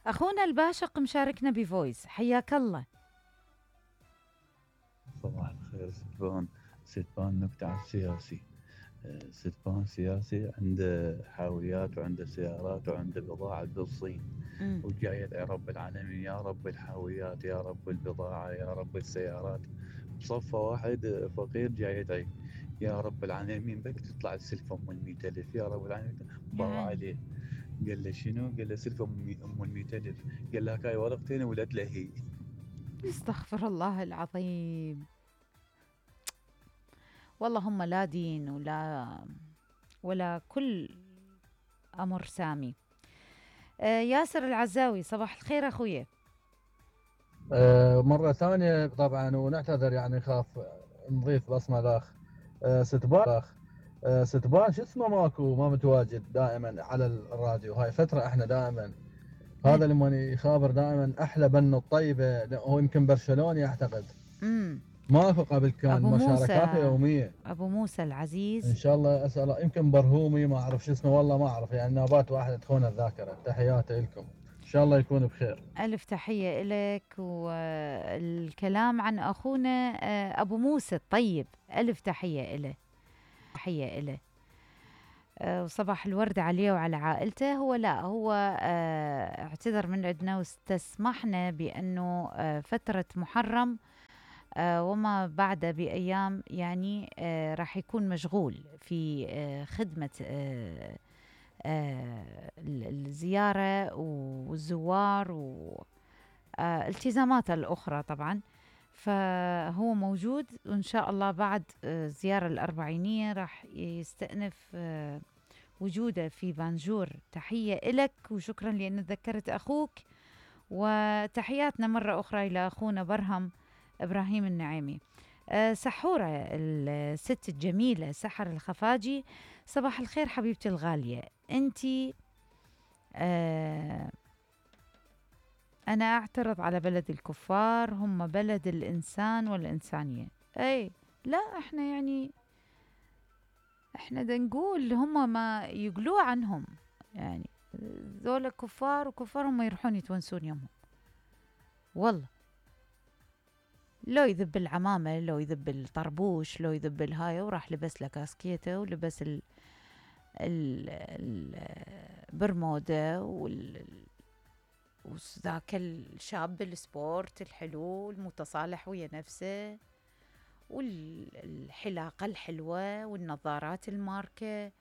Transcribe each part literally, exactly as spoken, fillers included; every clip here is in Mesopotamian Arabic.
أخونا الباشق مشاركنا بفويس، حياك الله. صباح الخير ستبان. ستبان نكتة على السياسي. ستبان سياسي عنده حاويات وعنده سيارات وعنده بضاعة بالصين، وجاي يدعي رب العالمين يا رب الحاويات يا رب البضاعة يا رب السيارات. بصفة واحد فقير جاي يدعي يا رب العالمين بك تطلع السلفة ام المئة الف يا رب العالمين. باو عليه قال له شنو؟ قال له سلفة ام المئة الف. قال له هاي ورقتين ولد له هي. استغفر الله العظيم. والله هم لا دين ولا ولا كل أمر سامي. آه ياسر العزاوي، صباح الخير أخويا. آه مرة ثانية طبعا ونعتذر، يعني خاف نضيف بصمة الأخ آه ستبان. آه ستبان شو اسمه ماكو ما متواجد دائما على الراديو، هاي فترة احنا دائما هذا لما يخابر دائما احلى بنو الطيبة، هو يمكن برشلوني اعتقد. امم ماكو قبل كان مشاركاته يومية. ابو موسى العزيز ان شاء الله اسال يمكن برهومي ما اعرف شو اسمه والله ما اعرف، يعني نوبات واحدة تخون الذاكرة. تحياتي لكم ان شاء الله يكون بخير. الف تحية لك. والكلام عن اخونا ابو موسى الطيب، الف تحية له، تحية له. وصباح الورد عليه وعلى عائلته. هو لا هو اعتذر من عندنا واستسمحنا بأنه فترة محرم وما بعد بأيام يعني راح يكون مشغول في خدمة الزيارة والزوار والتزاماته الأخرى طبعا. فهو موجود وإن شاء الله بعد الزيارة الأربعينية راح يستأنف وجوده في بانجور. تحية إلك وشكرا لأن ذكرت أخوك، وتحياتنا مرة أخرى إلى أخونا برهم إبراهيم النعيمي. أه سحورة الست الجميلة سحر الخفاجي، صباح الخير حبيبتي الغالية. أنتي أه أنا أعترض على بلد الكفار، هم بلد الإنسان والإنسانية. أي لا إحنا يعني إحنا دا نقول هم ما يقولوا عنهم، يعني ذولا كفار وكفار هم يروحون يتونسون يومهم. والله لو يذب العمامة، لو يذب الطربوش، لو يذب الهاي وراح لبس له كاسكيته ولبس ال البرمودة وال وذاك الشاب السبورت الحلو المتصالح ويا نفسه والحلاقة الحلوة والنظارات الماركة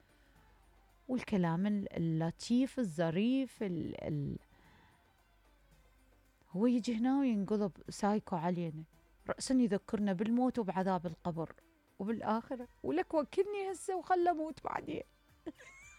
والكلام اللطيف الظريف ال ال هو يجي هنا وينقلب سايكو علينا، رأسا يذكرنا بالموت وبعذاب القبر وبالآخرة، ولك وكلني هسه وخل أموت بعدين.